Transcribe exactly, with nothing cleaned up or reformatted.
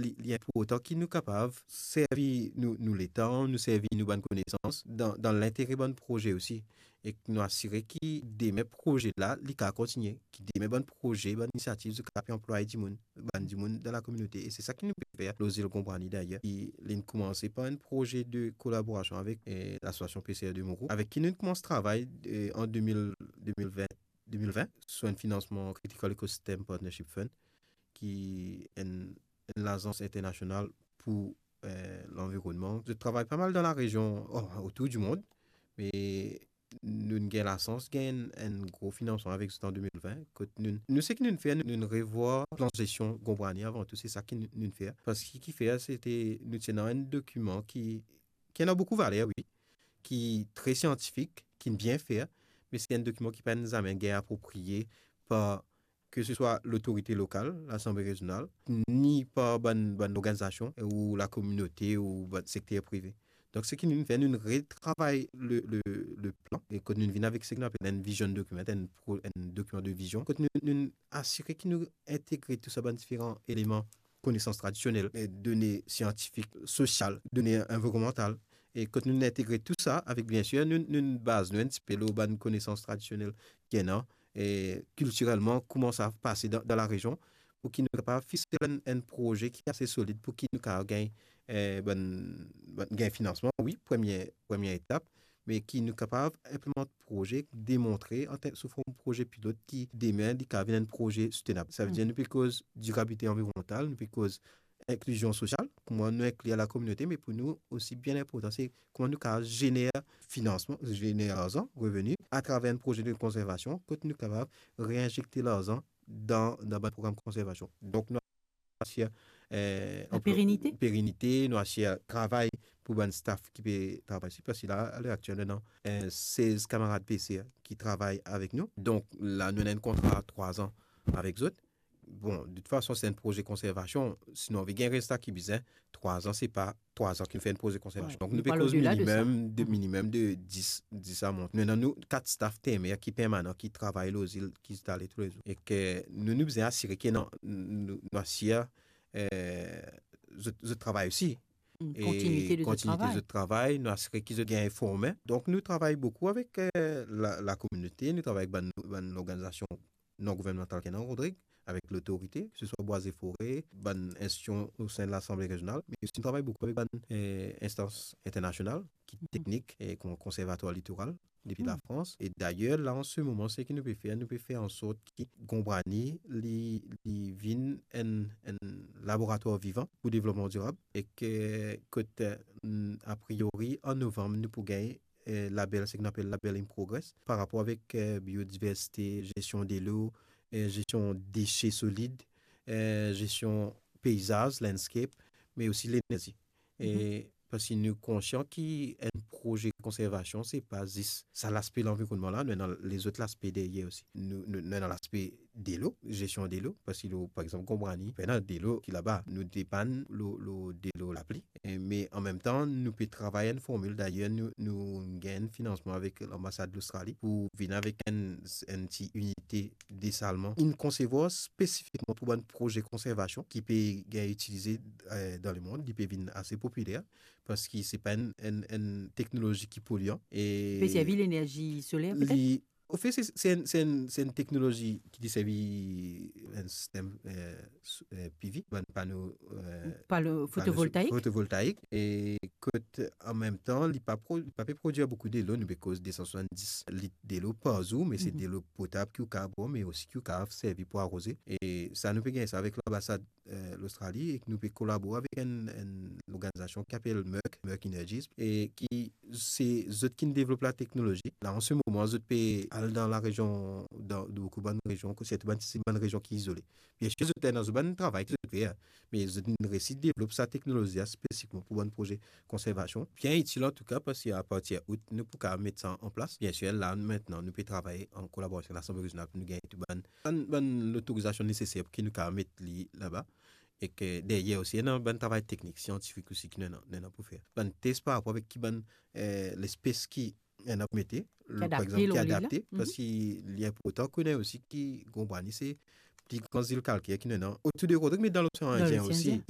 li, li inportan ki nou kapav servi nou, nou letan, nou servi nou bann konesans dan, dan lintere bann proze osi. Ek nou asire ki demin proze la, li kapav kontigne, ki demin bann proze, bann inisiativ, zot kapav pe anplwaye dimoun, bann dimoun dan lakominote. E se sa ki nou pe fer lor zil Gonbwani dayer. Ki linn koumanse par enn proze de kolaborasion avek, eh, lasosiasion P C R de Mourou, avek ki nou koumanse travay, eh, an de mil, de mil vin, de mil vin, sou enn finansman Critical Ecosystem Partnership Fund, ki enn, enn lazans internasional pou, eh, lanvironnman. Zot travay pa mal dan larezion, oh, otour di mond, me nou gagn lasans gagn enn gro finansman avek zot an de mil vin, kot nou, nou seki nou fer, nou, nou revwar plan zesion Gonbwani avan tou, se sa ki nou, nou fer. Parski ki fer, sete, nou ti ena enn dokiman ki, ki ena boukou valer, wi, ki tre siantifik, ki bien fer, me se enn dokiman ki pa zame gagn apropriye par ke se swa lotorite lokal, Lasanble Rezional, ni par bann, bann lorganizasion ou lakominote ou bann sekter prive. Donk, seki nou fer, nou retravay le, le, le plan, e kot nou vinn avek seki nou apel enn vision document, enn pro-, enn dokiman de vizion, kot nou, nou asire ki nou integre tou sa bann diferan eleman, konesans tradisionel, e done siantifik, sosial, done anvironnmantal, e kot nou integre tou sa avek, bien sir, nou, nou baz nou enn tipe lor bann konesans tradisionel ki ena, e kiltirelman, kouma sa pase dan, dan larezion, pou ki nou kapav fisel enn, enn proze ki ase solid, pou ki nou kapav gagn, eh, bann, bann, gagn finansman, wi, premie, premie etap, me ki nou kapav inplimant proze, demontre, an ter-, sou form proze pilot, ki demin, li kapav vinn enn proze soutenab. Savedir, nou pe koz dirabilite anvironnmantal, nou pe koz inklizion sosial, kouma nou inklir lakominote, me pou nou osi, bien inportan, se kouma nou kapav zener finansman, zener larzan, reveni, atraver enn proze de konservasion, kot nou kapav reinzekte larzan dan, dan bann program konservasion. Donk, nou asir, eh, anplwa, perinite, nou asir travay pou bann staff ki pe travay si, parski la, aler aktiel, nou ena, eh, sez kamarad P C R ki travay avek nou. Donk, la, nou ena enn kontra trwa an avek zot. Bon, de tout fason, se enn proze konservasion. Si nou anvi gagn rezilta ki bizin, trwa an, se pa trwa an ki nou fer enn proze konservasion. Donk, nou pe koz minimem de, minimem de dis, dis a mont. Nou ena nou kat staff termer ki permanan, ki travay lor zil, ki instale toulezour. E ke nou, nou bizin asire ke nou, nou, nou asir, eh, zot, zot travay osi. Kontinite de zot travay. Kontinite de zot travay, nou asire ki zot gagn forme. Donk, nou travay boukou avek, eh, la, lakominote, nou travay avek bann, bann lorganizasion non gouvernmantal ki ena Rodrig, avek lotorite, ke se swa Bwa e Fore, bann institision o sein de Lasanble Rezional, me osi nou travay boukou avek bann, eh, instans internasional, ki teknik, e kon-, Konservatwar Litoral, depi Lafrans. E dayer, la, an se moman, seki nou pe fer, nou pe fer an sort ki Gonbwani, li, li vinn enn, enn laboratwar vivan pou devlopman dirab, e ke, kot, eh, a priori, an novanm, nou pou gagn eh, label, seki nou apel label In Progress, par rapor avek, eh, biodiversite, zestion delo, eh, zestion dese solid, eh, zestion peizaz, landscape, me osi lenerzi. E parski nou konsian ki enn proze konservasion, se pa zis sa laspe lanvironnman la, nou ena lezot laspe deryer osi. Nou, nou, nou ena laspe delo, zestion delo, parski, par exanp, Gonbwani, pena delo ki laba. Nou depann lor, lor delo lapli. E, me an mem tan, nou pe travay enn formil. Dayer, nou, nou gagn finansman avek lanbasad Lostrali pou vinn avek enn, enn ti inite desalman. Inn konsevwar spesifikman pou bann proze konservasion ki pe gagn itilize, eh, dan lemond. Li pe vinn ase popiler, parski se pa enn, enn, enn teknolozi ki polian. E pe servi lenerzi soler, petet? Li Anfet, se, se enn, se enn, se enn teknolozi ki deservi enn sistem, eh, s-, eh, P V, bann pano, eh, pano fotovoltaik. Fotovoltaik. E kot, an mem tan, li pa pro-, li pa pe prodwir boukou delo, nou pe koz de san swasanndis lit delo par zour, me se delo potab ki ou kapav bwar, me osi ki ou kapav servi pou aroze. E sa, nou pe gagn sa avek lanbasad eh, Lostrali, e ki nou pe kolabore avek enn, enn lorganizasion ki apel Merck, Merck Energies, e ki se zot ki devlop lateknolozi. La, an se moman, zot pe al dan larezion, dan, dan boukou bann rezion, sirtou bann, se bann rezion ki izole. Biensir, zot ena zot bann travay ki zot fer, me zot inn resi devlop sa teknolozi la spesifikman pou bann proze konservasion. Bien itil antouka, parski apartir out, nou pou kapav met sa an plas. Biensir, la, nou, aster, nou pe travay an kolaborasion avek Lasanble Rezional pou nou gagn tou bann, bann, bann lotorizasion neseser pou ki nou kapav met li laba. E ke deryer osi, ena bann travay teknik, siantifik osi ki nou ena, nou ena pou fer. Bann tes par rapor avek ki bann, eh, lespes ki ena pou mete, par exanp, ki adapte, parski li inportan kone osi ki Gonbwani se pli gran zil kalker ki nou ena otour de Rodrig, me dan Losean Indien osi.